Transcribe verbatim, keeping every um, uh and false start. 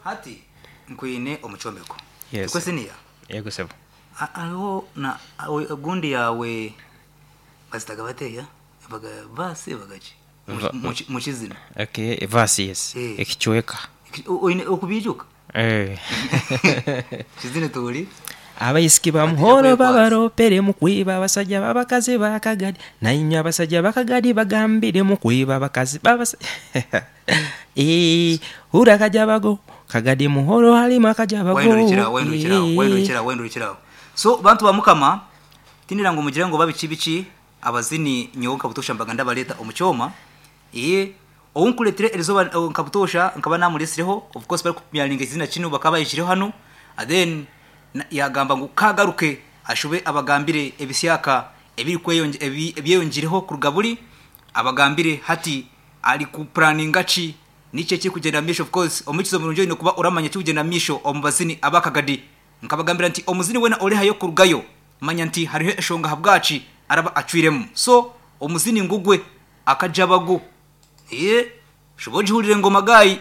Hati nkwine omucombeko. Yes. Kwesiniya. Yego sebo. Hariho na awe- gundi yawe bazitaga bateya baga basi bagaki Va- mukizina. Okay, verse, yes. Eh. Ekichweka. Oine okubijuka. Eh. Kizine tuli. Abaisiki ba muhoro babaropere mu kwiba abasajja b'abakazi bakagadi, nainywe abasajja bakagadi bagambire mu kwiba abakazi babasa. Eh, hura kajabago kagadi muhoro halimu akajabago. Wendurikiraho, wendurikiraho, Eh. wendurikiraho, wendurikiraho. So bantu ba Mukama, tindira ngo mugire ngo babiki biki abazini nyowe nkabutosha mbaga ndabaleta omukyoma. Iye owunkuletire erizoba nkabutosha nkaba namulesireho, of course bari kupyalinga izina kino bakaba bayishireho hano, and then na- yagamba ngu kagaruke ashube abagambire ebisyaka ebiri kweyonge ebi- ebyeyongireho kuruga buri abagambire hati ari kuplaninga ki nikyo kiri misho. Of course omukizo murungi oine kuba oramanya kikugenda misho omu bazini abakagadi. Nkabagambira nti omuzini wena orihayo kurugayo, manya nti hariho eshonga habwaki araba acwiremu. So omuzini ngugwe akajabagu, iye shuba ogihurire ngoma gayi.